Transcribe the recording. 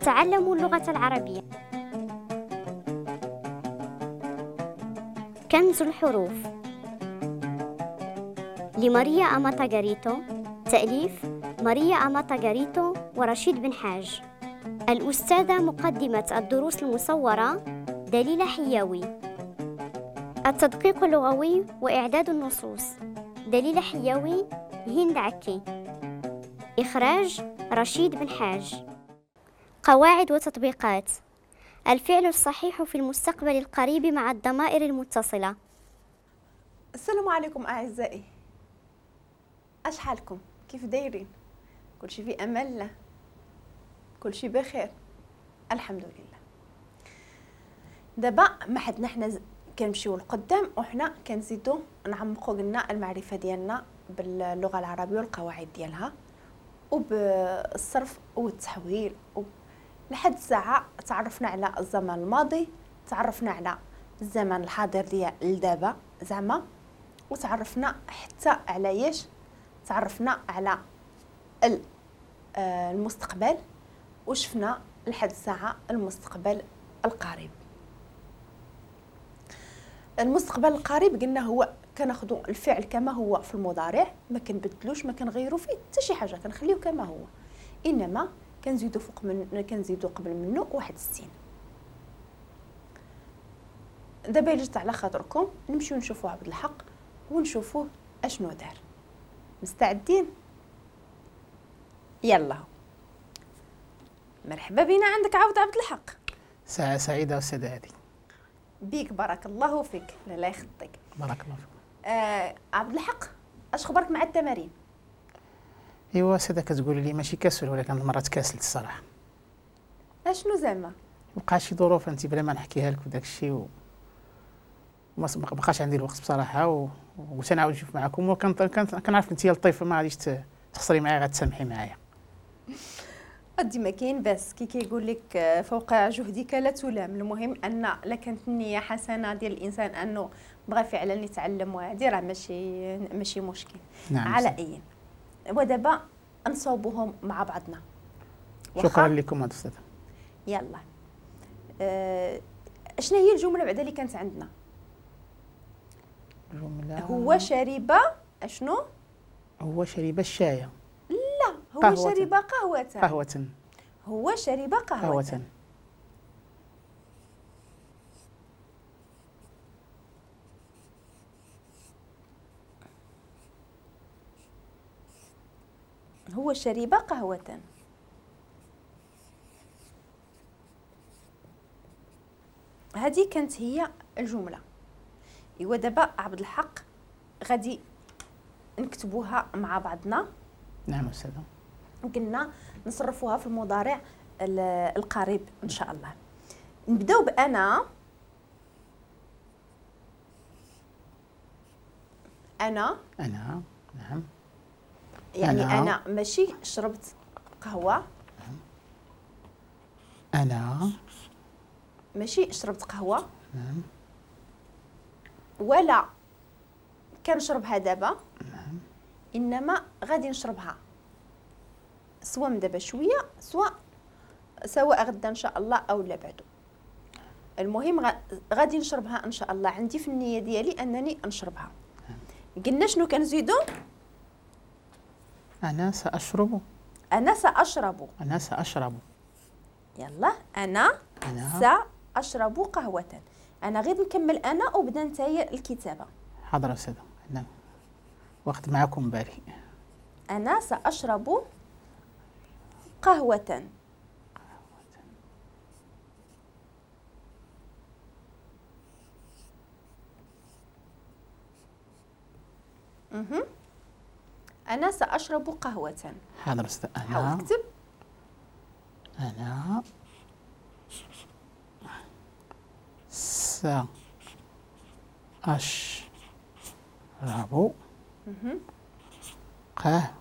أتعلم اللغة العربية. كنز الحروف لماريا أماتا غاريتو، تأليف ماريا أماتا غاريتو ورشيد بن حاج. الأستاذة مقدمة الدروس المصورة دليلة حياوي. التدقيق اللغوي وإعداد النصوص دليلة حياوي، هند عكي. إخراج رشيد بن حاج. قواعد وتطبيقات: الفعل الصحيح في المستقبل القريب مع الضمائر المتصلة. السلام عليكم أعزائي، أش حالكم؟ كيف دايرين؟ كلشي في أمان الله، كلشي بخير الحمد لله. دابا ما حدنا حنا كنمشيو لقدام وحنا كنزيدو نعمقو قلنا المعرفة ديالنا باللغة العربية والقواعد ديالها وبالصرف والتحويل. لحد الساعة تعرفنا على الزمن الماضي، تعرفنا على الزمن الحاضر ديال دابا زعما، وتعرفنا حتى على ياش، تعرفنا على المستقبل، وشفنا لحد الساعة المستقبل القريب. المستقبل القريب قلنا هو كناخذوا الفعل كما هو في المضارع، ما كنبدلوش ما كنغيروا فيه حتى شي حاجة، كنخليوه كما هو، انما كنزيدو فوق من كنزيدو قبل منه واحد السين. دابا الا جات على خاطركم نمشيو نشوفوا عبد الحق ونشوفوه اشنو دار. مستعدين؟ يلا مرحبا بنا عندك عبد الحق. ساعة سعيدة أستاذة هادي. بيك بارك الله فيك. لا يخطيك. بارك الله فيك. عبد الحق، اش خبرك مع التمارين؟ ايوا أستاذة كتقولي لي ماشي كسل، ولكن المرة تكاسلت الصراحة. اشنو زعما؟ وقع شي ظروف انت بلا ما نحكيها لك وداك الشيء وما بقاش عندي الوقت بصراحة، وتنعاود نشوف معكم، وكنعرف انت لطيفة ما غاديش تخسري معايا، غتسامحي معايا. أدي ما كاين بس كي كيقول لك فوق جهدك لا تلام. المهم ان لا كانت النية حسنه ديال الانسان انه بغى فعلا يتعلم، وهذه راه ماشي مشكل. نعم. على اي ودابا نصوبوهم مع بعضنا. شكرا لكم استاذه. يلا شنو هي الجملة بعدا اللي كانت عندنا؟ الجملة هو شرب اشنو؟ هو شرب الشاي. لا، هو قهوة. شرب قهوة. قهوة. هو شرب قهوة. قهوة. هو شرب قهوة. هذه كانت هي الجملة. ايوا دابا عبد الحق غادي نكتبوها مع بعضنا. نعم أستاذة. قلنا نصرفوها في المضارع القريب إن شاء الله. نبداو بأنا. أنا. أنا. نعم. يعني أنا ماشي شربت قهوة. أنا ماشي شربت قهوة. نعم. ولا كنشربها دابا. نعم. إنما غادي نشربها سواء من دابا شوية، سواء غدا ان شاء الله او لا بعدو. المهم غادي نشربها ان شاء الله، عندي في النية ديالي انني نشربها. قلنا شنو كنزيدو؟ انا ساشرب. انا ساشرب. انا ساشرب. يلا انا ساشرب قهوة. انا غير نكمل انا وبدا نتايا الكتابة. حاضر استاذه، نعم وقت معكم بالي. انا ساشرب قهوة. أنا سأشرب قهوة. حاضر أستاذ. أنا حاول اكتب. أنا سأشرب قهوة.